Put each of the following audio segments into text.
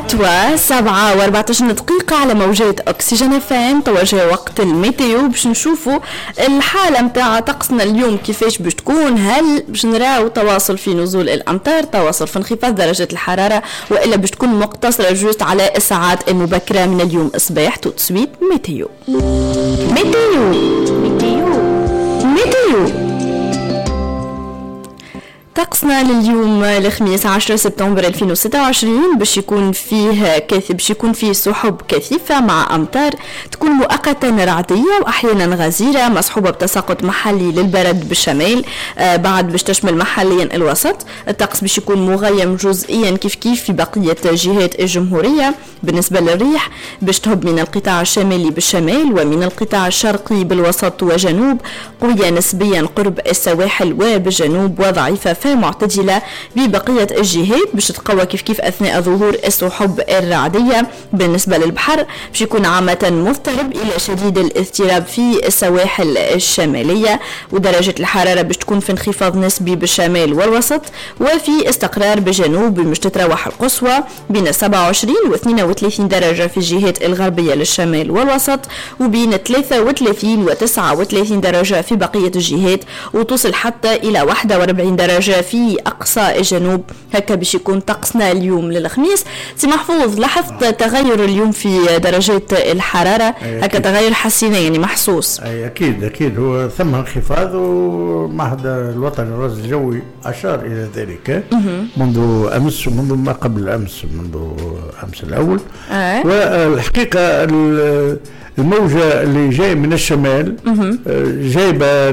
توا 7:14 على موجات أكسجين FM. توا جا وقت ال météo باش نشوفوا الحالة متاع طقسنا اليوم كيفاش باش تكون. هل باش نراو تواصل في نزول الأمطار، تواصل في انخفاض درجة الحرارة، وإلا باش تكون مقتصرة juste على الساعات المبكرة من اليوم الصباح؟ tout de suite météo météo météo météo. طقسنا لليوم الخميس 10 سبتمبر 2026 باش يكون فيه باش يكون فيه سحب كثيفة مع أمطار تكون مؤقتا رعدية وأحيانا غزيرة مصحوبة بتساقط محلي للبرد بالشمال، بعد باش تشمل محليا الوسط. الطقس باش يكون مغيم جزئيا كيف كيف في بقية جهات الجمهورية. بالنسبة للريح باش تهب من القطاع الشمالي بالشمال ومن القطاع الشرقي بالوسط وجنوب، قوية نسبيا قرب السواحل وبالجنوب، وضعيفة معتدلة ببقية الجهات، باش تتقوى كيف كيف أثناء ظهور السحب الرعدية. بالنسبة للبحر باش يكون عامة مضطرب إلى شديد الاضطراب في السواحل الشمالية، ودرجة الحرارة باش تكون في انخفاض نسبي بالشمال والوسط، وفي استقرار بالجنوب باش تتراوح القصوى بين 27 و 32 درجة في الجهات الغربية للشمال والوسط، وبين 33 و 39 درجة في بقية الجهات، وتصل حتى إلى 41 درجة في أقصى الجنوب. هكا باش يكون طقسنا اليوم للخميس. سي محفوظ، لاحظت تغير اليوم في درجات الحرارة؟ هكا تغير حسينا يعني محسوس. أي أكيد أكيد، هو ثم انخفاض، والمعهد الوطني للرصد الجوي أشار إلى ذلك منذ أمس ومنذ ما قبل أمس، منذ أمس الأول. والحقيقة الموجة اللي جاية من الشمال جايبة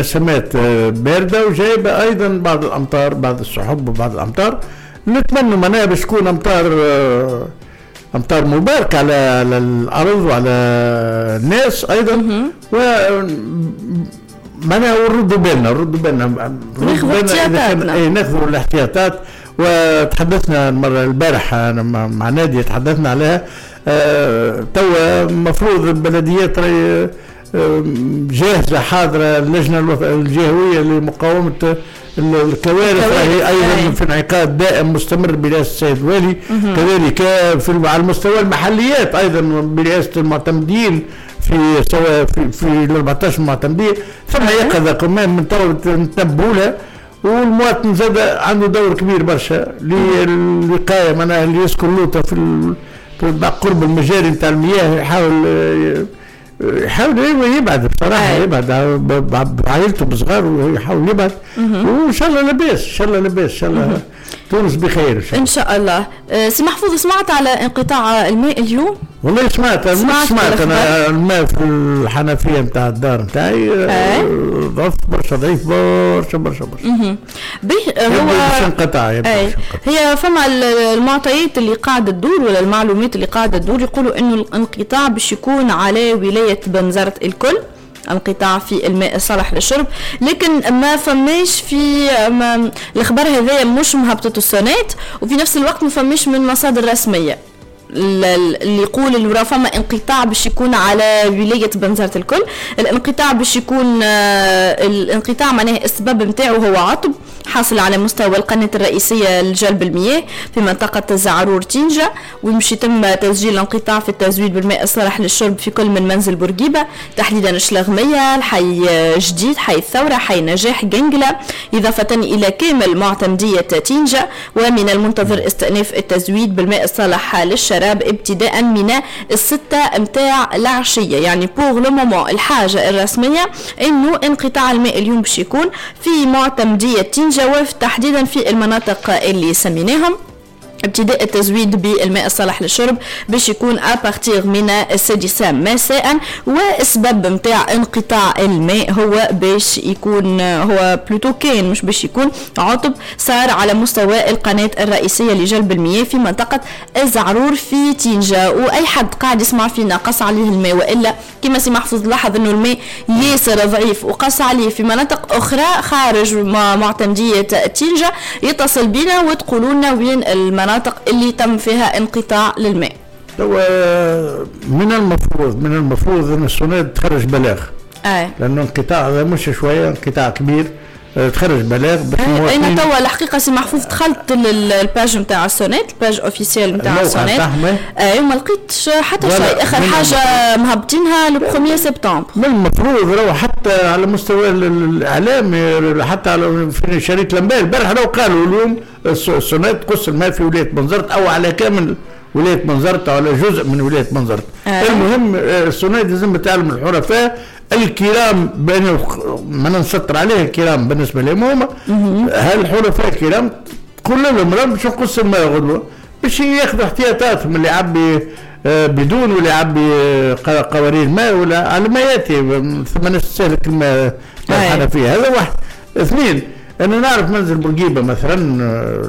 نسمات باردة، وجايبة أيضا بعض الأمطار، بعض السحب وبعض الأمطار. نتمنى معناها باش تكون أمطار مباركة على الأرض وعلى الناس أيضا. و معناها ونردوا بالنا، نردوا بالنا، ناخذوا الاحتياطات. وتحدثنا المرة البارحة مع نادية، تحدثنا عليها. توا المفروض البلديات جاهزة حاضرة، اللجنة الجهوية لمقاومة الكوارث راهي أيضا في انعقاد دائم مستمر برئاسة السيد الوالي، كذلك في على المستوى المحليات أيضا برئاسة المعتمدين في سواء في 14 معتمدية. ثم يقظة كمان من توا نتنبهوا لها، والمواطن زاد عنده دور كبير برشا للوقاية، معناها اللي يسكن لوطة في قرب المجاري نتاع المياه يحاول يبعد بصراحة، يبعد بعائلته بصغار ويحاول يبعد، وإن شاء الله لاباس، إن شاء الله لاباس، إن شاء الله تونس بخير إن شاء الله. سي محفوظ، سمعت على انقطاع الماء اليوم؟ والله سمعت أنا الماء في الحنفية نتاع الدار نتاعي ضعف برشا، ضعيف برشا برشا برشا. به هو انقطاع. هي فما المعطيات اللي قاعدة تدور ولا المعلومات اللي قاعدة تدور يقولوا إنه الانقطاع باش يكون على ولاية بنزرت الكل، انقطاع في الماء الصالح للشرب، لكن ما فماش في الخبر هذايا مش مهبطته السونات، وفي نفس الوقت ما فماش من مصادر رسمية اللي يقول انه راه فما انقطاع باش يكون على ولاية بنزرت الكل. الانقطاع باش يكون الانقطاع معناه السبب نتاعو هو عطب حاصل على مستوى القناة الرئيسية لجلب المياه في منطقة زعرور تينجا، ومش يتم تسجيل الانقطاع في التزويد بالماء الصالح للشرب في كل من منزل بورقيبة تحديدا الشلغمية، الحي جديد، حي الثورة، حي نجاح، جنجلة، إضافة إلى كامل معتمدية تينجا. ومن المنتظر استئناف التزويد بالماء الصالح للشراب ابتداء من 6 متاع العشية. يعني pour le moment الحاجة الرسمية انه انقطاع الماء اليوم باش يكون في معتمدية تينجا وتحديدا في المناطق اللي سميناهم. ابتداء التزويد بالماء الصالح للشرب باش يكون à partir من 6 مساء. والسبب نتاع انقطاع الماء هو باش يكون هو plutôt كان مش باش يكون عطب صار على مستوى القناة الرئيسية لجلب المياه في منطقة الزعرور في تينجا. واي حد قاعد يسمع فينا قص عليه الماء، والا كما سي محفوظ لاحظ انه الماء ياسر ضعيف وقص عليه في مناطق اخرى خارج معتمدية تينجا، يتصل بنا وتقولوا لنا وين المناطق اللي تم فيها انقطاع للماء. من المفروض ان السوناد تخرج بلاغ. لانه انقطاع هذا مش شوية، انقطاع كبير. تخرج بلاغ. انا توا الحقيقة سي محفوظ دخلت ال page نتاع السوناد، ال page officielle نتاع السوناد، وما لقيتش حتى شيء. اخر حاجة مهبطينها le 1 سبتمبر. من المفروض راهو حتى على مستوى الاعلام، حتى على في شريط الانباء البارح راهو قالوا اليوم السوناد تقص الماء في ولاية بنزرت او على كامل ولاية بنزرت او على جزء من ولاية بنزرت. المهم السوناد لازم تعلم الحرفاء الكرام، بان ما نسطر عليه الكرام بالنسبة لهم هما هالحرفاء الكرام، تقول لهم راه باش نقص الماء غدوه باش ياخذوا احتياطاتهم، اللي يعبي بدون ولا يعبي قوارير ماء ولا على ما ياتي، ثم نستهلك الماء الحنفية. هذا واحد. اثنين، انا نعرف منزل بورقيبة مثلا،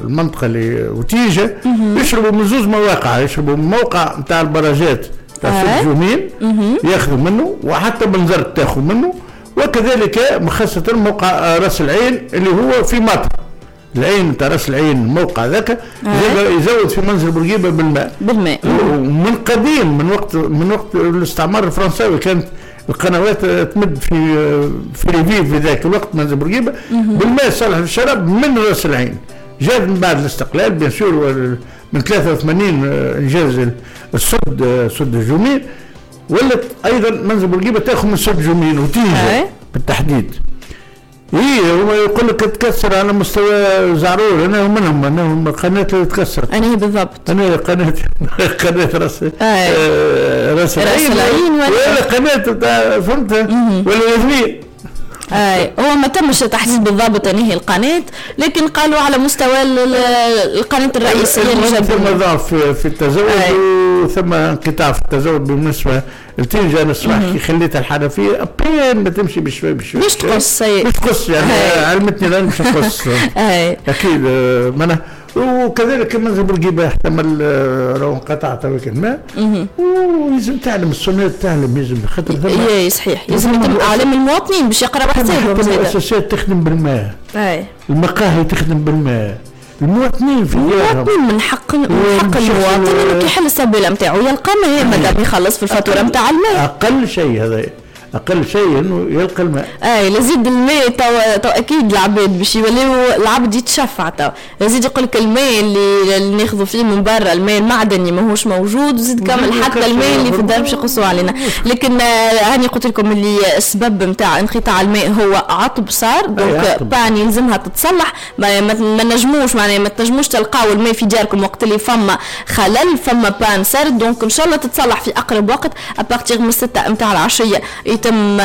المنطقة اللي وتيجه يشربوا من زوز مواقع، يشربوا من موقع نتاع البراجات تاع سوق جومين ياخذوا منه، وحتى بنزرت تاخذ منه، وكذلك خاصة موقع راس العين اللي هو في مطر العين تاع راس العين، الموقع ذاك يزود في منزل بورقيبة بالماء. ومن قديم، من وقت الاستعمار الفرنساوي كانت القنوات تمد في ريفيف في ذاك الوقت منزل بورقيبة بالماء الصالح للشراب من راس العين. جاء من بعد الاستقلال bien sûr من 83 انجاز السد، سد الجومين، ولت ايضا منزل بورقيبة تاخذ من سد جومين وتيجي بالتحديد. ايه هو يقول لك تكسر على مستوى زعرور، انا منهم، انا هم القناة اللي تكسرت. انا هي بالضبط، انا قناة راس راس العين ولا قناة، فهمت ولا الاثنين. هو ما تمش تحديد بالضبط أنهي القناة، لكن قالوا على مستوى القناة الرئيسية اللي ثم ضعف في التزود وثم انقطاع في التزود بالنسبة لتنجة. أنا الصباح كي خليتها الحنفية بين ما تمشي بشوي بشوي باش تقص، باش تقص يعني علمتني الآن باش تقص أكيد. معناها وكذلك منزل بورقيبة يحتمل راهو انقطع توك الماء، ولازم تعلم السوناد، تعلم لازم خاطر اي صحيح، لازم يتم اعلام المواطنين باش يقراو حسابهم. المؤسسات تخدم بالماء، المقاهي تخدم بالماء، المواطنين في المواطنين من حق المواطن انه كيحل السبيله نتاعو يلقى ماء مادام يخلص في الفاتورة نتاع الماء. اقل شيء هذا، اقل شيء انه يلقى الماء. لازيد الماء تو اكيد العباد باش يوليو العبد يتشفع تو، لازيد يقول لك الماء اللي ناخذوا فيه من برا الماء المعدني ماهوش موجود، وزيد كامل حتى الماء اللي في الدار باش يقصوا علينا. لكن هاني قلت لكم اللي السبب نتاع انقطاع الماء هو عطب صار، donc panne يلزمها تتصلح، ما نجموش معناها ما تنجموش تلقاو الماء في دياركم وقت اللي فما خلل، فما panne صار، donc ان شاء الله تتصلح في اقرب وقت à partir من 6 نتاع العشية يتم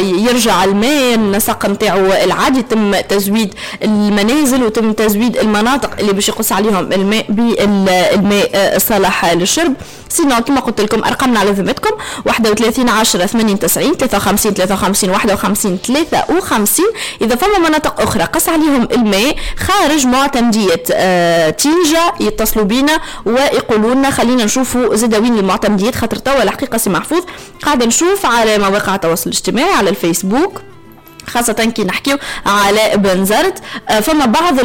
يرجع الماء النسق نتاعو العادي، يتم تزويد المنازل وتم تزويد المناطق اللي باش يقص عليهم الماء بالماء الصالح للشرب. sinon كما قلت لكم ارقامنا على ذمتكم 31 10 80 90 53 53 51 53. اذا فما مناطق اخرى قص عليهم الماء خارج معتمديه تينجا يتصلوا بينا ويقولوا لنا، خلينا نشوفوا زاد وين المعتمديات، خاطر توا الحقيقة سي محفوظ قاعدة نشوف على مواقع التواصل الاجتماعي على الفيسبوك، خاصة كي نحكيو على بنزرت، فما بعض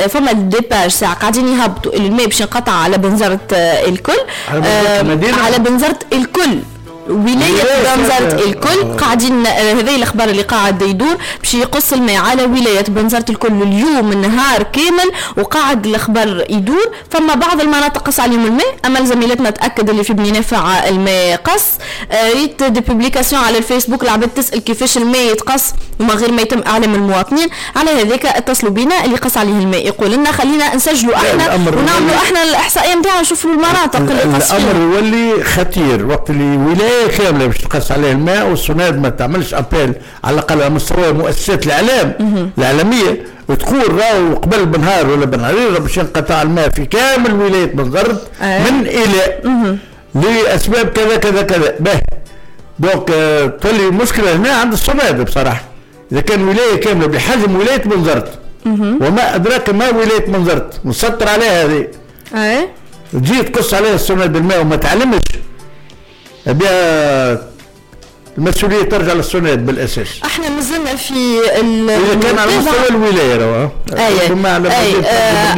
فما des pages ساعة قاعدين يهبطوا الماء باش ينقطع على بنزرت الكل، على بنزرت الكل، ولاية بنزرت الكل قاعدين. هذه الأخبار اللي قاعد يدور باش يقص الماء على ولاية بنزرت الكل اليوم النهار كامل، وقاعد الأخبار يدور. فما بعض المناطق قص عليهم الماء، أما زميلتنا تأكد اللي في بني نافع الماء قص. ريت des publications على الفيسبوك العباد تسأل كيفاش الماء يتقص وما غير ما يتم إعلام المواطنين. على هذاك اتصلوا بينا اللي قص عليه الماء يقول لنا خلينا نسجلوا احنا ونعملوا احنا الإحصائية نتاعنا نشوفوا المناطق اللي قص فيها. الأمر يولي خطير وقت اللي ولاية كاملة باش تقص عليه الماء والسوناد ما تعملش appel على الاقل على مستوى مؤسسات الاعلام الاعلامية وتقول راهو قبل بنهار ولا بنهارين باش ينقطع الماء في كامل ولاية بنزرت من الى لاسباب كذا كذا كذا. به donc تولي المشكلة هنا عند السوناد بصراحة، اذا كان ولاية كاملة بحجم ولاية بنزرت وما ادراك ما ولاية بنزرت مسطر عليها هذه، تجي تقص عليها السوناد الماء وما تعلمش بها المسؤولية ترجع للسوناد بالاساس. احنا مازلنا في اذا كان على مستوى الولاية راه اي على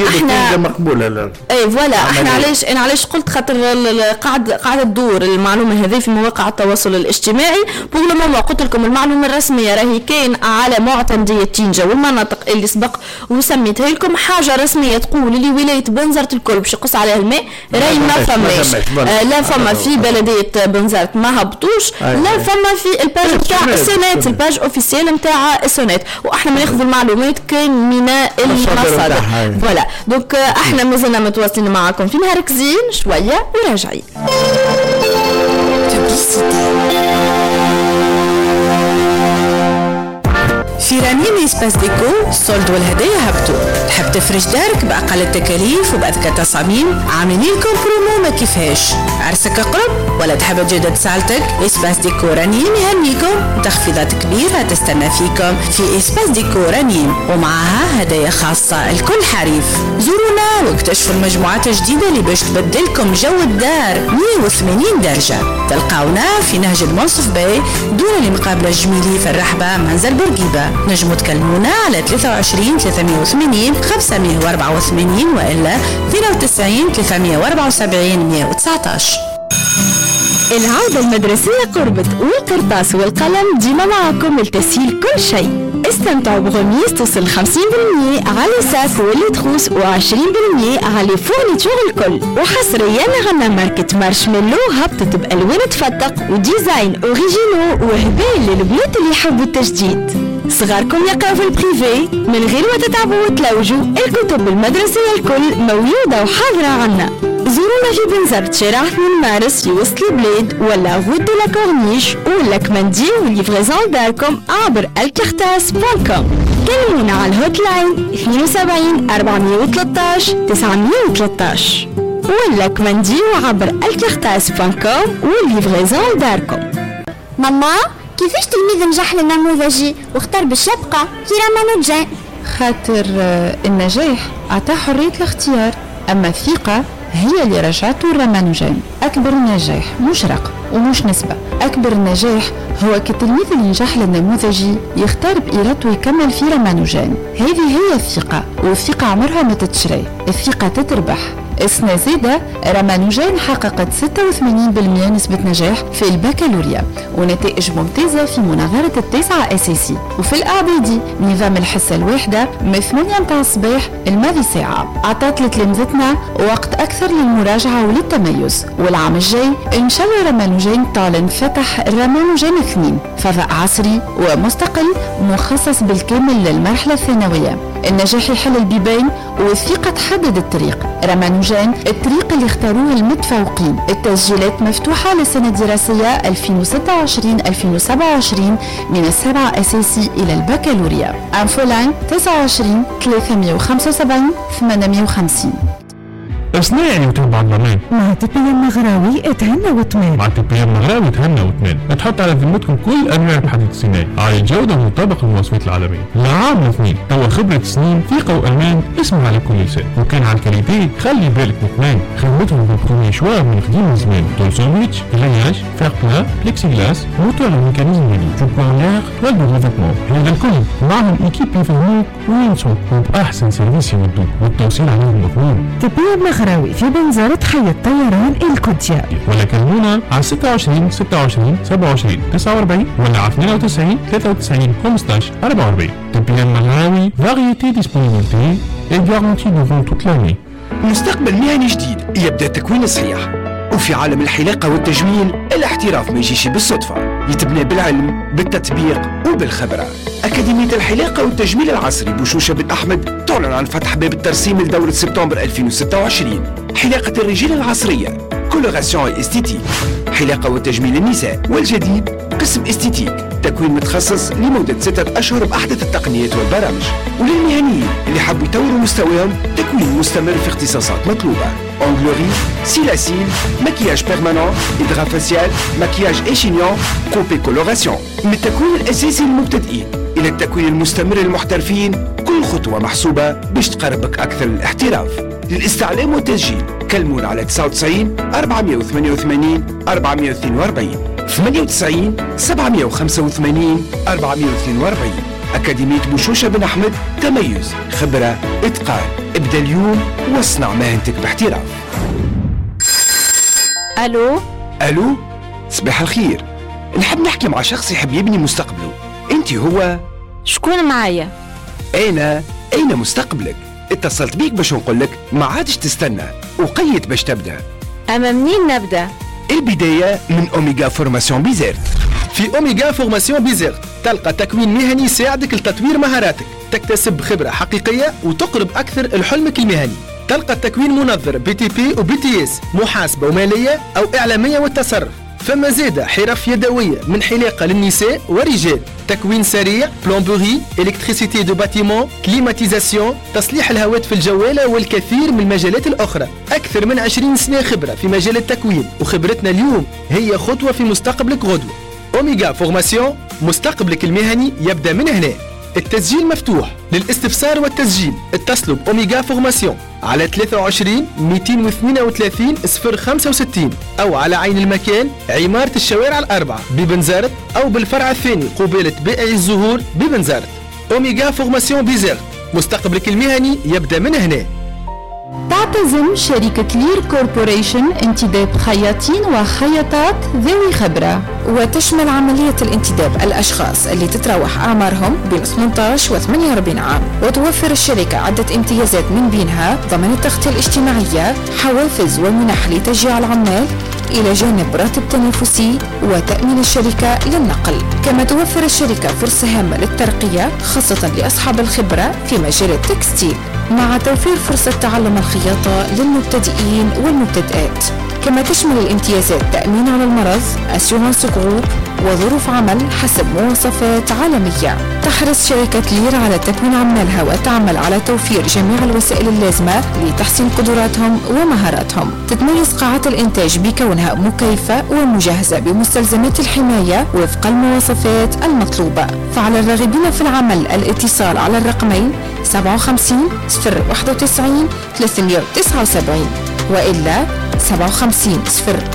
احنا مقبولة. اي voilà، احنا علاش انا علاش قلت خاطر قاعدة تدور المعلومة هذه في مواقع التواصل الاجتماعي. pour le moment قلت لكم المعلومة الرسمية راهي كاين على معتمديه تينجا والمناطق اللي سبق وسميتها لكم، حاجة رسمية تقول اللي ولاية بنزرت الكل باش يقص عليها الماء راهي ما فماش. لا فما في بلديه بنزرت ما هبطوش، لا فما في ال page نتاع السوناد، ال page officielle نتاع السوناد، واحنا ما ناخذ المعلومات كان من المصادر. voilà donc احنا مازلنا متواصلين معاكم في نهارك زين شوية وراجعين. في رنين Espace Déco soldes والهدايا هبطوا. تحب تفرش دارك باقل التكاليف وباذكى التصاميم؟ عاملين لكم برومو ما كيفهاش. عرسك قرب ولا تحب تجدد صالتك؟ Espace Déco رنين يهنيكم، تخفيضات كبيرة تستنى فيكم في Espace Déco رنين، ومعها هدايا خاصة لكل حريف. زورونا واكتشفوا المجموعات الجديدة اللي باش تبدلكم جو الدار 180 درجه. تلقاونا في نهج المنصف باي دون المقابلة الجميلي في الرحبه منزل بورقيبة. نجموا تكلمونا على 23 380 584 وإلا 92 374 119. العودة المدرسية قربت والقرطاس والقلم ديما معكم لتسهيل كل شيء. استمتعوا ب remise توصل 50% على sacs و les trousses و20% على fournitures الكل. وحصريا عنا ماركة مارشميلو هبطت بألوان تفتق و design original وهبال للبنات اللي يحبوا التجديد. صغاركم يقراو في ال privé من غير ما تتعبوا وتلوجوا، الكتب المدرسية الكل موجودة وحاضرة عنا. زورونا في بنزرت شارع 2 مارس في وسط البلاد ولا route de la Corniche ولا كمانديو و livraison داركم عبر الكارتاس.com. كلمونا على ال hotline 72 413 913 ولا كمانديو عبر الكارتاس.com و livraison داركم. ماما كيفاش تلميذ نجح للنموذجي واختار باش يبقى في رامانوجان؟ خاطر النجاح عطاه حرية الاختيار، أما الثقة هي اللي رجعته الرامانوجان. أكبر نجاح مش رقم ومش نسبة، أكبر نجاح هو كالتلميذ اللي نجح للنموذجي يختار بإرادته يكمل في رامانوجان. هذه هي الثقة، والثقة عمرها ما تتشري، الثقة تتربح. السنة زادة رامانوجان حققت 86% نسبة نجاح في البكالوريا ونتائج ممتازة في مناظرة التاسعة أساسي، وفي الإعدادي نظام الحصة الواحدة من 8 متاع الصباح الماضي ساعة أعطت لتلامذتنا وقت أكثر للمراجعة وللتميز. والعام الجاي إن شاء الله رامانوجان تعلن فتح رامانوجان 2، فضاء عصري ومستقل مخصص بالكامل للمرحلة الثانوية. النجاح يحل البيبان والثقة تحدد الطريق. رامانوجان الطريق اللي اختاروه المتفوقين. التسجيلات مفتوحة للسنة الدراسية 2026-2027 من السبعة أساسي إلى البكالوريا. infoline 29 375 850. اصنعي وتبع الضمان مع TPM مغراوي اتهنى واطمن. مع TPM مغراوي اتهنى واطمن. تحط على ذمتكم كل انواع الحديد الصناعي على الجودة المطابقة للمواصفات العالمية. لعام اثنين توا خبره سنين، ثقة وامان، اسمع على كل لسان. وكان على ال qualité خلي بالك مطمئن، خدمتهم بال premier choix من قديم زمان. tôle sandwich، grillage، fer plat، plexiglas، moteur mécanisme دي جوبونير، toile de revêtement. هذا الكل معهم équipe يفهموك وينصحوك وباحسن service يودوك والتوصيل عليهم مضمون. TPM مغراوي في بنزرت حي الطيران الكوتيا، ولا كلمونا على 26 26 27 49 ولا على 92 93 15 44. TPM مغراوي، variété disponibilité et garantie durant toute l'année. مستقبل مهني جديد يبدأ تكوين صحيح، وفي عالم الحلاقة والتجميل الاحتراف ما يجيش بالصدفة، يتبنى بالعلم بالتطبيق وبالخبرة. أكاديمية الحلاقة والتجميل العصري بوشوشة بن أحمد تعلن عن فتح باب الترسيم لدورة سبتمبر 2026. حلاقة الرجال العصرية، coloration esthétique، حلاقة وتجميل النساء، والجديد قسم esthétique، تكوين متخصص لمدة 6 أشهر بأحدث التقنيات والبرامج. وللمهنيين اللي حبوا يطوروا مستواهم تكوين مستمر في اختصاصات مطلوبة: onglerie، cils à cils، maquillage permanent، hydrafacial، maquillage et chignon، coupe coloration. من التكوين الأساسي للمبتدئين إلى التكوين المستمر للمحترفين، كل خطوة محسوبة باش تقربك أكثر للاحتراف. للاستعلام والتسجيل كلمونا على 99 488 442. 98 785 442. أكاديمية بوشوشة بن أحمد، تميز، خبرة، إتقان. ابدأ اليوم واصنع مهنتك باحتراف. ألو ألو، صباح الخير. نحب نحكي مع شخص يحب يبني مستقبله. أنت هو؟ شكون معايا؟ أنا مستقبلك. اتصلت بيك باش نقول لك ما عادش تستنى، وقيت باش تبدأ. أما منين نبدأ؟ البداية من Oméga Formation Bizerte. في Oméga Formation Bizerte تلقى تكوين مهني يساعدك لتطوير مهاراتك، تكتسب خبرة حقيقية وتقرب أكثر لحلمك المهني. تلقى التكوين منظر BTP و BTS، محاسبة ومالية أو إعلامية والتصرف. فما زادة حرف يدوية من حلاقة للنساء ورجال، تكوين سريع، plomberie، électricité de bâtiment، climatisation، تصليح الهواتف الجوالة والكثير من المجالات الأخرى. أكثر من 20 سنة خبرة في مجال التكوين، وخبرتنا اليوم هي خطوة في مستقبلك غدوة. Oméga Formation، مستقبلك المهني يبدأ من هنا. التسجيل مفتوح للاستفسار والتسجيل. اتصلوا ب Oméga Formation على 23 232 065 أو على عين المكان عمارة الشوارع الأربعة ببنزرت، أو بالفرع الثاني قبالة بائع الزهور ببنزرت. Oméga Formation Bizerte، مستقبلك المهني يبدأ من هنا. تعتزم شركة لير Corporation انتداب خياطين وخياطات ذوي خبرة، وتشمل عملية الانتداب الأشخاص اللي تتراوح أعمارهم بين 18 و 48 عام. وتوفر الشركة عدة امتيازات من بينها ضمان التغطية الاجتماعية، حوافز ومنح لتشجيع العمال، إلى جانب راتب تنافسي وتأمين الشركة للنقل. كما توفر الشركة فرصة هامة للترقية خاصة لأصحاب الخبرة في مجال ال textile، مع توفير فرصة تعلم الخياطة للمبتدئين والمبتدئات. كما تشمل الامتيازات تأمين على المرض، assurance groupe، وظروف عمل حسب مواصفات عالمية. تحرص شركة لير على تكوين عمالها وتعمل على توفير جميع الوسائل اللازمة لتحسين قدراتهم ومهاراتهم. تتميز قاعات الإنتاج بكونها مكيفة ومجهزة بمستلزمات الحماية وفق المواصفات المطلوبة. فعلى الراغبين في العمل الاتصال على الرقمين 57 091 379 وإلا 57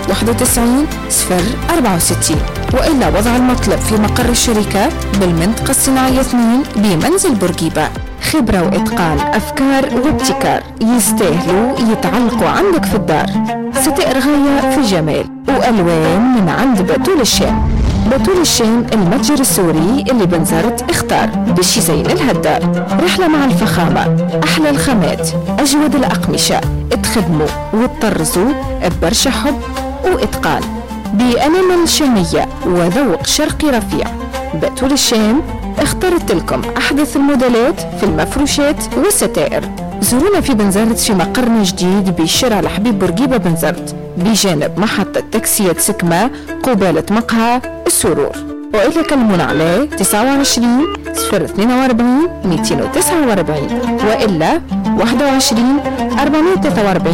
091 064، وإلا وضع المطلب في مقر الشركة بالمنطقة الصناعية 2 بمنزل بورقيبة. خبرة وإتقان، أفكار وابتكار يستاهلوا يتعلقوا عندك في الدار. ستائر غاية في الجمال وألوان من عند بتول الشام. بتول الشام المتجر السوري اللي بنزرت اختار باش يزين لها الدار. رحلة مع الفخامة، أحلى الخامات، أجود الأقمشة، تخدموا وتطرزوا ببرشا حب وإتقان بأنامل شامية وذوق شرقي رفيع. بتول الشام اختارت لكم أحدث الموديلات في المفروشات والستائر. زورونا في بنزرت في مقرنا جديد بشارع الحبيب بورقيبة بنزرت، بجانب محطة تاكسيات سكمة قبالة مقهى السرور. وإلا كلمونا على 29 042 249 وإلا 21 443.